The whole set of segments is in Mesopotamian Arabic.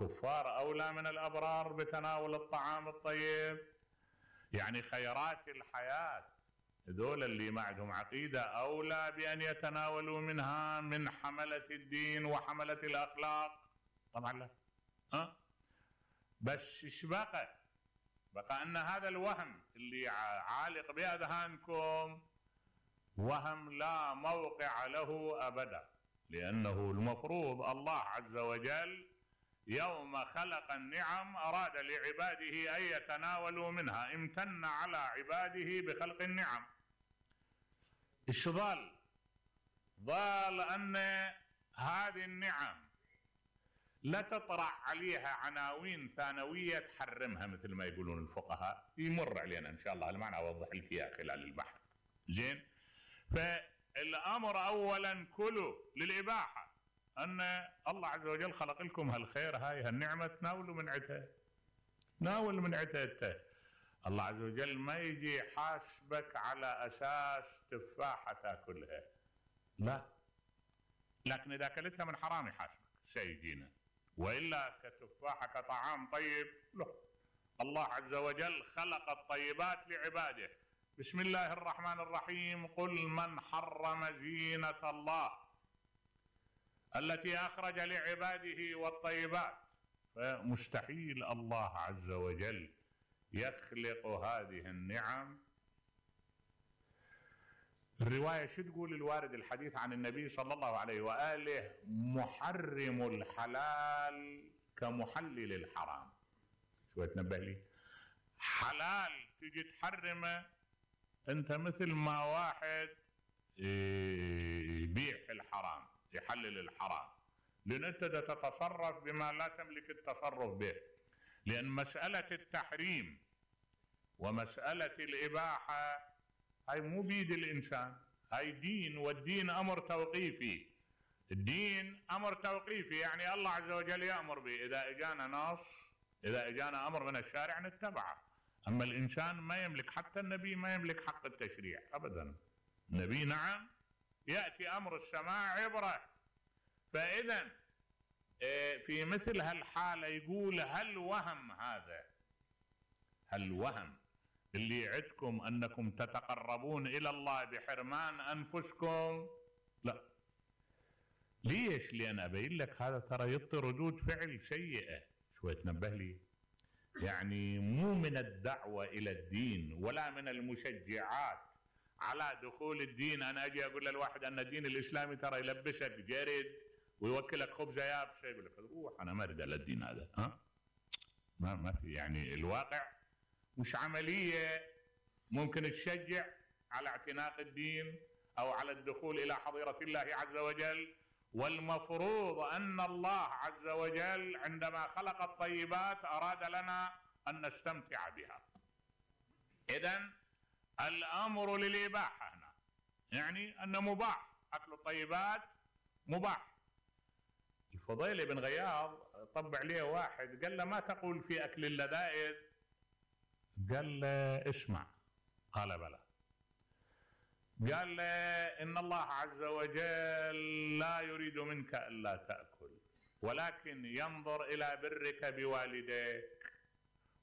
الكفار أولى من الأبرار بتناول الطعام الطيب. يعني خيرات الحياة دول اللي ما عندهم عقيدة أولى بأن يتناولوا منها من حملة الدين وحملة الأخلاق؟ طبعا لا. بس إيش بقى أن هذا الوهم اللي عالق بأذهانكم وهم لا موقع له أبدا، لأنه المفروض الله عز وجل يوم خلق النعم أراد لعباده أن يتناولوا منها، امتن على عباده بخلق النعم. إيش ظل أن هذه النعم لا تطرح عليها عناوين ثانوية تحرمها مثل ما يقولون الفقهاء، يمر علينا إن شاء الله المعنى أوضح لك إياه خلال البحث. زين، فالأمر أولا كله للإباحة، أن الله عز وجل خلق لكم هالخير، هاي هالنعمة تناولوا من عتها، ناول من عتها. الله عز وجل ما يجي حاسبك على أساس تفاحة تاكلها، لا، لكن إذا أكلتها من حرام يحاسبك سيجينا، وإلا كتفاحة كطعام طيب لا. الله عز وجل خلق الطيبات لعباده. بسم الله الرحمن الرحيم: قل من حرم زينة الله التي أخرج لعباده والطيبات. فمستحيل الله عز وجل يخلق هذه النعم. الرواية شو تقول؟ الوارد الحديث عن النبي صلى الله عليه وآله: محرم الحلال كمحلل الحرام. شوية تنبه لي، حلال تجي تحرمه انت مثل ما واحد يبيع في الحرام، يحلل الحرام، لأن انت تتصرف بما لا تملك التصرف به. لأن مسألة التحريم ومسألة الإباحة هاي مو بيد الإنسان، هاي دين، والدين أمر توقيفي. الدين أمر توقيفي، يعني الله عز وجل يأمر به، إذا إجانا نص، إذا إجانا أمر من الشارع نتبعه. أما الإنسان ما يملك، حتى النبي ما يملك حق التشريع أبدا. النبي نعم يأتي أمر السماء عبرة. فإذا في مثل هالحالة يقول: هل وهم هذا، هل وهم اللي يعدكم أنكم تتقربون إلى الله بحرمان أنفسكم؟ لا. ليش؟ لأن أبين لك هذا ترى يعطي ردود فعل سيئة. شوي تنبه لي، يعني مو من الدعوة إلى الدين ولا من المشجعات على دخول الدين أنا أجي أقول للواحد أن الدين الإسلامي ترى يلبسك جرد ويوكلك خبزة يابسة، يقول لك روح أنا ما أريد على الدين هذا. ما في، يعني الواقع مش عملية ممكن تشجع على اعتناق الدين أو على الدخول إلى حضيرة الله عز وجل. والمفروض أن الله عز وجل عندما خلق الطيبات أراد لنا أن نستمتع بها. إذن الأمر للإباحة هنا، يعني أن مباح أكل الطيبات، مباح. الفضيل بن غياض طبع عليه واحد قال له: ما تقول في أكل اللذائذ؟ قال له: اسمع. قال: بلى. قال له: إن الله عز وجل لا يريد منك ألا تأكل، ولكن ينظر إلى برك بوالديك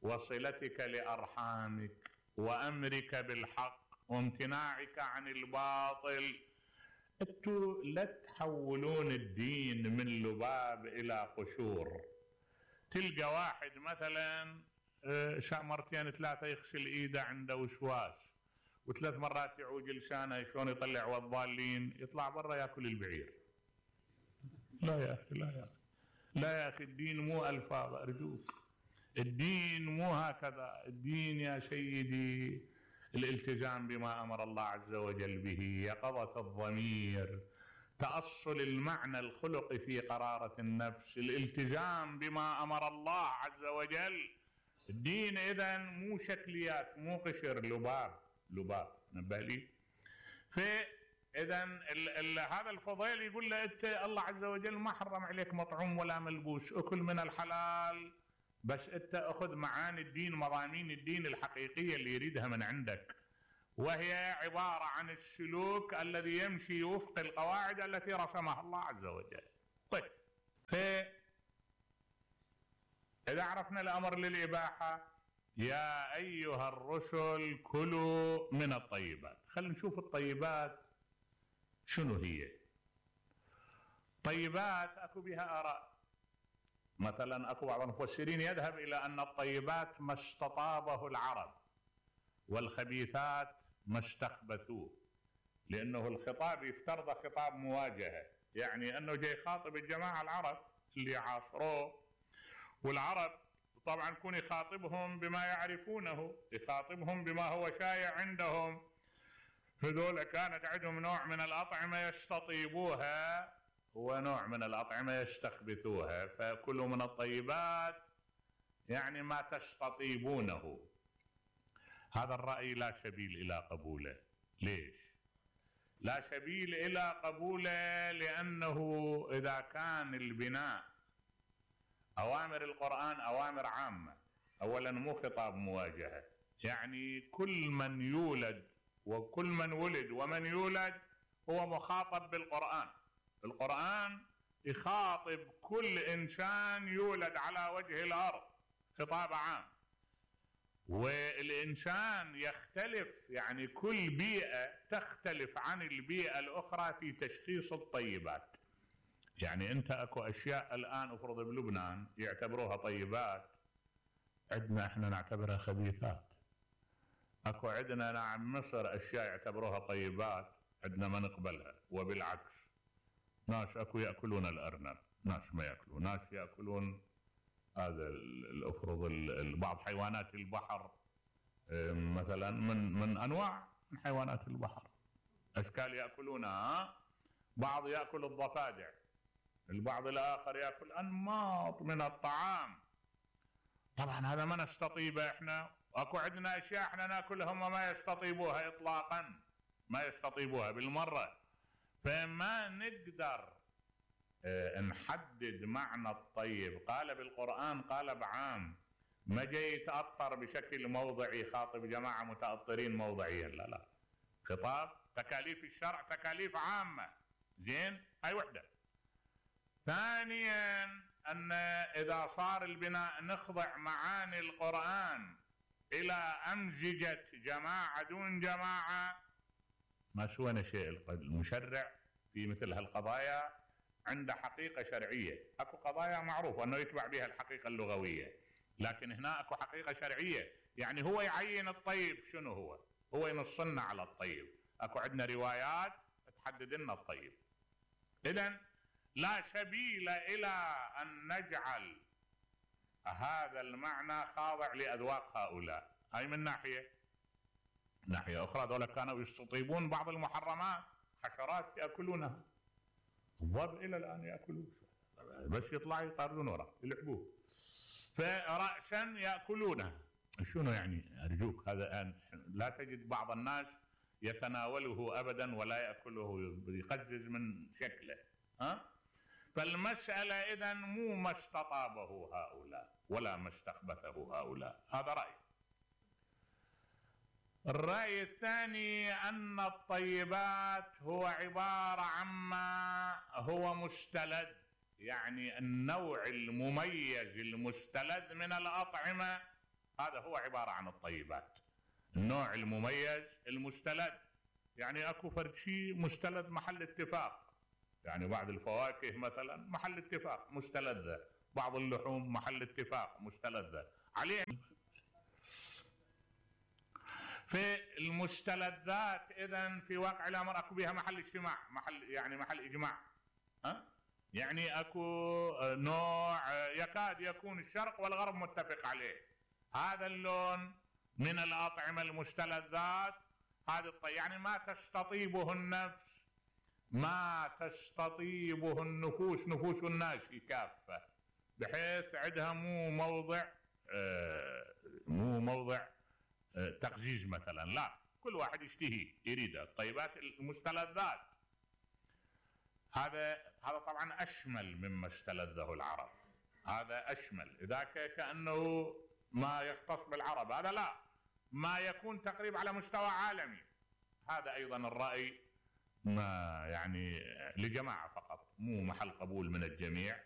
وصلتك لأرحامك وأمرك بالحق وامتناعك عن الباطل. انتوا لا تحولون الدين من لباب إلى قشور. تلقى واحد مثلا مرتين ثلاثة يغسل إيده عنده وسواس، وثلاث مرات يعوج لسانه شلون يطلع والضالين، يطلع برا ياكل البعير. لا يا أخي، لا يا أخي، لا يا أخي، الدين مو ألفاظ أرجوك، الدين مو هكذا. الدين يا سيدي الالتزام بما أمر الله عز وجل به، يقظة الضمير، تأصل المعنى الخلقي في قرارة النفس، الالتزام بما أمر الله عز وجل. الدين إذن مو شكليات، مو قشر، لباب. نبه لي. فإذن هذا الفضيل يقول له: أنت الله عز وجل ما حرم عليك مطعوم ولا ملبوس، أكل من الحلال، بس أنت أخذ معاني الدين، مضامين الدين الحقيقية اللي يريدها من عندك، وهي عبارة عن السلوك الذي يمشي وفق القواعد التي رسمها الله عز وجل. طيب، إذا عرفنا الأمر للإباحة، يا أيها الرسل كلوا من الطيبات. خلينا نشوف الطيبات شنو هي. طيبات أكو بها آراء. مثلا أكو بعض المفسرين يذهب إلى أن الطيبات ما استطابه العرب، والخبيثات ما استخبثوه، لأنه الخطاب يفترض خطاب مواجهة، يعني أنه جاي يخاطب الجماعة العرب اللي عاصروه، والعرب طبعا يكون يخاطبهم بما يعرفونه، يخاطبهم بما هو شائع عندهم. هذول كانت عندهم نوع من الأطعمة يستطيبوها ونوع من الأطعمة يستخبثوها، فكلوا من الطيبات يعني ما تستطيبونه. هذا الرأي لا سبيل إلى قبوله. ليش؟ لا سبيل إلى قبوله لأنه إذا كان البناء أوامر القرآن أوامر عامة، أولا مو خطاب مواجهة، يعني كل من يولد وكل من ولد ومن يولد هو مخاطب بالقرآن. القرآن يخاطب كل إنسان يولد على وجه الأرض، خطاب عام. والإنسان يختلف، يعني كل بيئة تختلف عن البيئة الأخرى في تشخيص الطيبات. يعني أنت أكو أشياء الآن أفرض بلبنان يعتبروها طيبات، عندنا إحنا نعتبرها خبيثات. أكو عندنا نعم مصر أشياء يعتبروها طيبات، عندنا ما نقبلها، وبالعكس. ناس أكو يأكلون الأرنب، ناس ما يأكلون، ناس يأكلون هذا الأفرض بعض حيوانات البحر، مثلا من أنواع من حيوانات البحر أشكال يأكلونها. بعض يأكل الضفادع، البعض الآخر يأكل أنماط من الطعام. طبعا هذا ما نستطيبه إحنا. أكو عندنا أشياء إحنا نأكلها هم ما يستطيبوها إطلاقا، ما يستطيبوها بالمرة. فما نقدر نحدد معنى الطيب. قال بالقرآن قال بعام، ما جاي يتأطر بشكل موضعي يخاطب جماعة متأطرين موضعيا، لا لا، خطاب تكاليف الشرع تكاليف عامة. زين، هاي وحدة. ثانيا أن إذا صار البناء نخضع معاني القرآن إلى أمزجة جماعة دون جماعة، ما سوينا شيء. المشرع في مثل هالقضايا عنده حقيقة شرعية. أكو قضايا معروفة أنه يتبع بها الحقيقة اللغوية، لكن هنا أكو حقيقة شرعية، يعني هو يعين الطيب شنو هو ينصنا على الطيب. أكو عندنا روايات تحدد لنا الطيب. إذن لا سبيل إلى أن نجعل هذا المعنى خاضع لأذواق هؤلاء. هاي من ناحية أخرى ذولا كانوا يستطيبون بعض المحرمات، حشرات يأكلونها، الضب إلى الآن يأكلون، بس يطلع يطاردون وراه يلعبوه، فرأسا يأكلونه. شنو يعني؟ أرجوك، هذا الآن لا تجد بعض الناس يتناوله أبدا ولا يأكله، يقزز من شكله. فالمسألة إذن مو ما استطابه هؤلاء ولا ما استخبثه هؤلاء. هذا رأي. الرأي الثاني أن الطيبات هو عبارة عما هو مستلذ، يعني النوع المميز المستلذ من الأطعمة، هذا هو عبارة عن الطيبات. النوع المميز المستلذ، يعني أكو فرد شيء مستلذ محل اتفاق، يعني بعض الفواكه مثلا محل اتفاق مستلذة، بعض اللحوم محل اتفاق مستلذة عليه. في المستلذات إذن في واقع الأمر أكو بها محل اجتماع، محل إجماع. يعني أكو نوع يكاد يكون الشرق والغرب متفق عليه. هذا اللون من الأطعمة المستلذات، هذا يعني ما تستطيبه النفس، ما تستطيبه النفوس، نفوس الناس كافة، بحيث عندها مو موضع تقزيز مثلا، لا، كل واحد يشتهي يريده. الطيبات المستلذات هذا طبعا أشمل مما استلذه العرب، هذا أشمل. ذاك كأنه ما يختص بالعرب، هذا لا، ما يكون تقريب على مستوى عالمي. هذا أيضا الرأي ما يعني لجماعة فقط، مو محل قبول من الجميع.